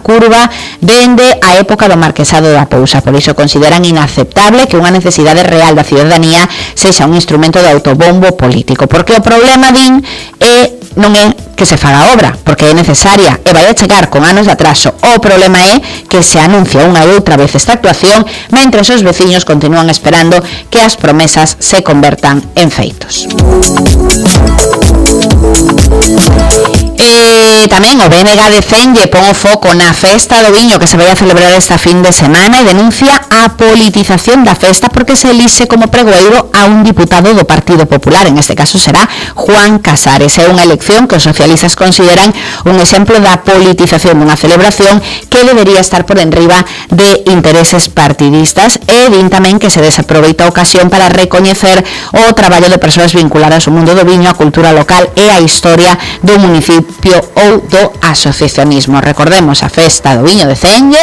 curva dende a época do Marquesado da Pousa. Por iso consideran inaceptable que unha necesidade real da ciudadanía sexa un instrumento de autobombo político, porque o problema, din, non é que se faga a obra, porque é necesaria e vai a chegar con anos de atraso. O problema é que se anuncia unha e outra vez esta actuación mentre os veciños continúan esperando que as promesas se convertan en feitos. Tamén o BNG de Cenge pon o foco na festa do viño que se vai a celebrar esta fin de semana e denuncia a politización da festa porque se elixe como pregoeiro a un diputado do Partido Popular, en este caso será Juan Casares. É unha elección que os socialistas consideran un exemplo da politización dunha celebración que debería estar por enriba de intereses partidistas e din tamén que se desaproveita a ocasión para recoñecer o traballo de persoas vinculadas ao mundo do viño, a cultura local e a historia do municipio ou do asociacionismo. Recordemos, a festa do viño de Cenge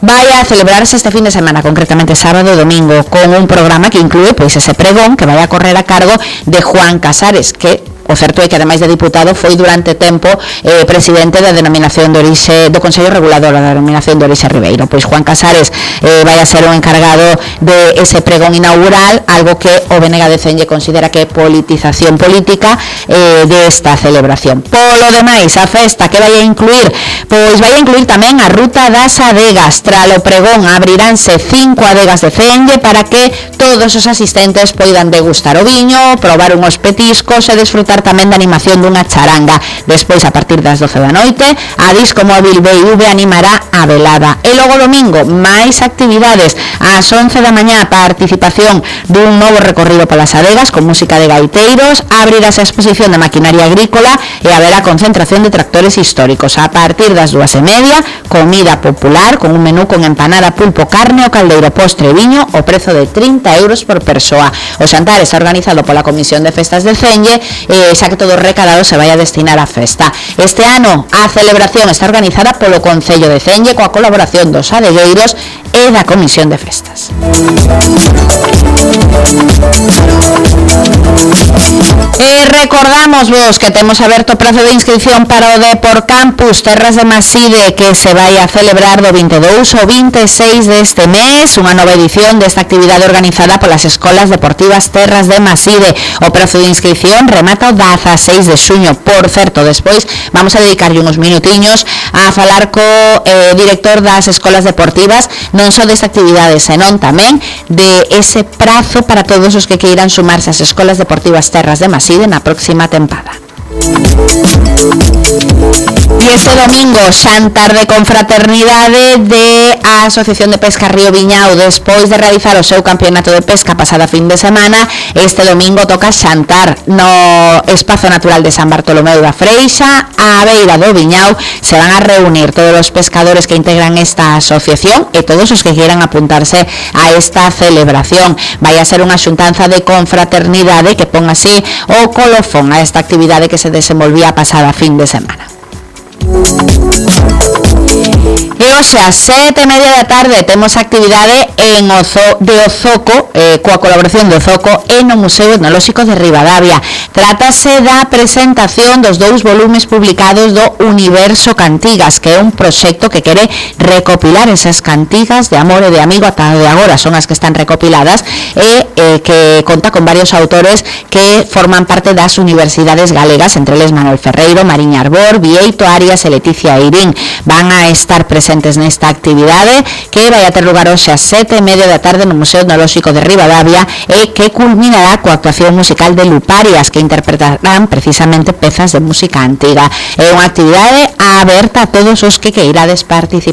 vai a celebrarse este fin de semana, concretamente sábado e domingo, con un programa que inclúe pois ese pregón que vai a correr a cargo de Juan Casares, que o certo é que ademais de diputado foi durante tempo presidente da denominación de orixe do Consello Regulador da denominación de orixe Ribeiro. Pois Juan Casares vai a ser o encargado de ese pregón inaugural, algo que o BNG de Cenge considera que é politización política desta celebración. Polo demais, a festa que vai a incluir? Pois vai a incluir tamén a Ruta das Adegas. Tras o pregón abriránse 5 adegas de Cenge para que todos os asistentes poidan degustar o viño, probar unhos petiscos e desfrutar tamén da animación dunha charanga. Despois, a partir das 12 da noite, a Disco Móvil BIV animará a velada. E logo domingo, máis actividades. Ás 11 da mañá, participación dun novo recorrido polas adegas con música de gaiteiros, abrirase a exposición de maquinaria agrícola e haberá concentración de tractores históricos. A partir das 2:30, comida popular con un menú con empanada, pulpo, carne, o caldeiro, postre e viño, o prezo de 30 euros por persoa. O xantar está organizado pola Comisión de Festas de Cenge xa que todo o recadado se vai a destinar á festa. Este ano a celebración está organizada polo Concello de Cenge coa colaboración dos adegueiros e da Comisión de Festas. E recordamos vos que temos aberto o prazo de inscripción para o Depor Campus Terras de Maside, que se vai a celebrar do 22 ao 26 deste mes, unha nova edición desta actividade organizada polas Escolas Deportivas Terras de Maside. O prazo de inscripción remata o 16 de xuño. Por certo, despois vamos a dedicarlle uns minutiños a falar co director das Escolas Deportivas, non só desta actividade, senón tamén de ese prazo para todos os que queiran sumarse ás Escolas Deportivas Terras de Maside na próxima tempada. E este domingo, xantar de confraternidade de a Asociación de Pesca Río Viñao. Despois de realizar o seu campeonato de pesca pasada fin de semana, este domingo toca xantar no Espazo Natural de San Bartolomeu da Freixa, á beira do Viñao. Se van a reunir todos os pescadores que integran esta asociación e todos os que quieran apuntarse a esta celebración. Vai a ser unha xuntanza de confraternidade que pon así o colofón a esta actividade que se desenvolvía pasada fin de semana. E hoxe ás 7:30 da tarde temos actividade en de Ozoco, coa colaboración de Ozoco e no Museo Etnolóxico de Ribadavia. Trátase da presentación dos 2 volumes publicados do Universo Cantigas, que é un proxecto que quere recopilar esas cantigas de amor e de amigo, ata de agora son as que están recopiladas, e que conta con varios autores que forman parte das universidades galegas, entre eles Manuel Ferreiro, Mariña Arbor, Vieito Arias e Leticia Eirín. Van a estar presentes nesta actividade que vai a ter lugar hoxe ás 7:30 da tarde no Museo Etnolóxico de Ribadavia e que culminará coa actuación musical de Luparias, que interpretarán precisamente pezas de música antiga. É unha actividade aberta a todos os que queirades participar.